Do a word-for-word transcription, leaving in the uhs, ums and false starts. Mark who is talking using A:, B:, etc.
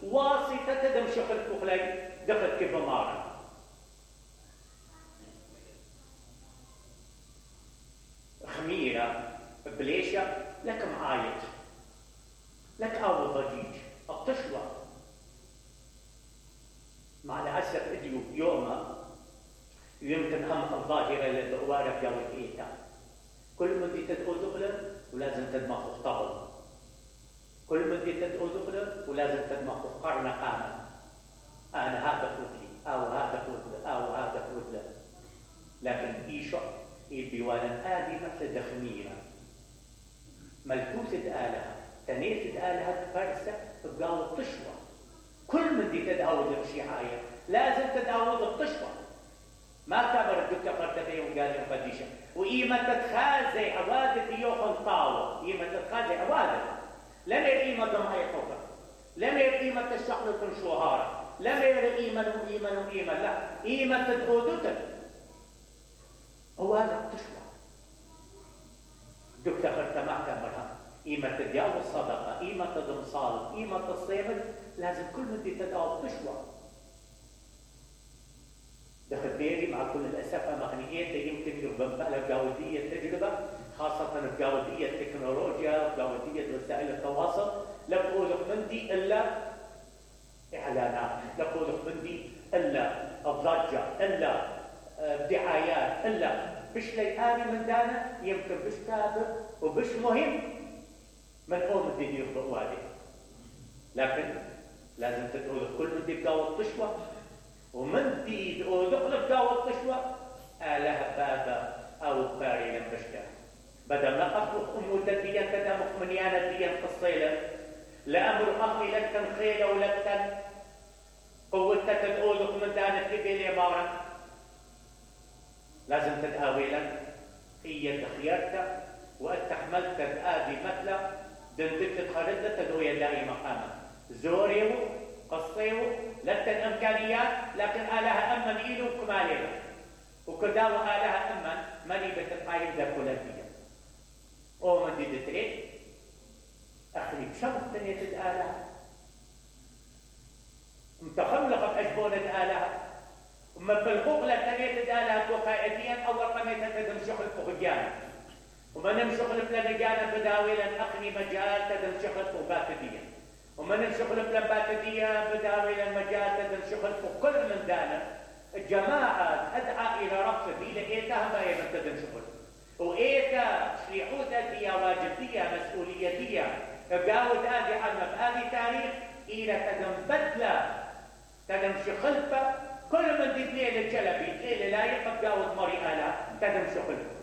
A: واسطة تدم شغل بخلي دخل كيف مارا خميرة بليشة لك معايط لك أو ضجيج الطشوة مع الأسف اديو يوما يمكن هم الظاهرة للدوارة جو الإيتا كل من دي تدعو دخلا ولازم تدمخ اختبط كل من دي تدعو دخلا ولازم تدمخ قرن قامة أنا هذا قلت أو هذا قلت أو هذا قلت لكن إيشو البيوانا آدي مثل دخميرة ملكوسة آلهة تنيسة آلهة فرسة تبقى الطشوة كل من دي تدعوذ بشيعاية لازم تدعوذ الطشوة ما كبر الدكتور قرتبي وقال لهم قديشة وإيما تتخازي عوادة يوخن طاوة إيما تتخازي عوادة لم يرئيما ضمعي طوبة لم يرئيما تشعل تنشوهارة لم يرئيما وإيما وإيما لا إيما تدعوذتك هو هذا الطشوة دكتور قرتما كامرها إيما تدعو الصدقة إيما تدم صالح إيما تصيبت لازم كل من دي تدعو الطشوة دخل بيري مع كل الأسف مغنيات يمكن يربما بجودية التجربة خاصة بجودية التكنولوجيا بجودية وسائل التواصل لا بقولك من دي إلا إعلانات لا بقولك من دي إلا الضجة إلا دعايات إلا بش ليقاني من دانا يمكن بش تابع وبش مهم من قوم دي دي يخطئوا عليه لكن لازم تقول كل من دي بجاو الطشوة ومن دي دخل بجاو الطشوة آله بابا أو باري لنبشكا بدل ما أخلق أمو تديا تدامخ منيانا ديا قصيلة لأمر أخي لك تنخيلة ولك تن قوتك تدعوذك من دانك لبيلي مارا لازم تدعوي لك هي تخيرتك واتحملت تدعادي مثلا دندك تخرجت تدعوية دائما مقاما زوريو قصيو لك الإمكانيات لكن آلها أمن إيلو كماليها وكداو آلها أمن مني بتقايم ذا كولاتية أو من دي دتريد أخلي بشمس تنية آلها متخلقة بأجبونة آلها وما بالغوغ لتنية آلها وقائديا أول قميتها تدم شغل فخجانا وما نمشغل بلنجانا بداويلا أخني مجال تدم شغل فخباتديا وما نمشغل بلنباتديا بداويلا مجال تدم شغل فكل من دانا الجماعة أدعى إلى رقص دي لإيتها ما يمن تدم شغل وإيتا شريحوتا دي واجبية مسؤوليتية قاود آدي علم بآدي تاريخ إلى تدم بدلة تدم شغلفة كل من دي بليل الجلبي ليلة لا يقب قاود مري آلا تدم شغلفة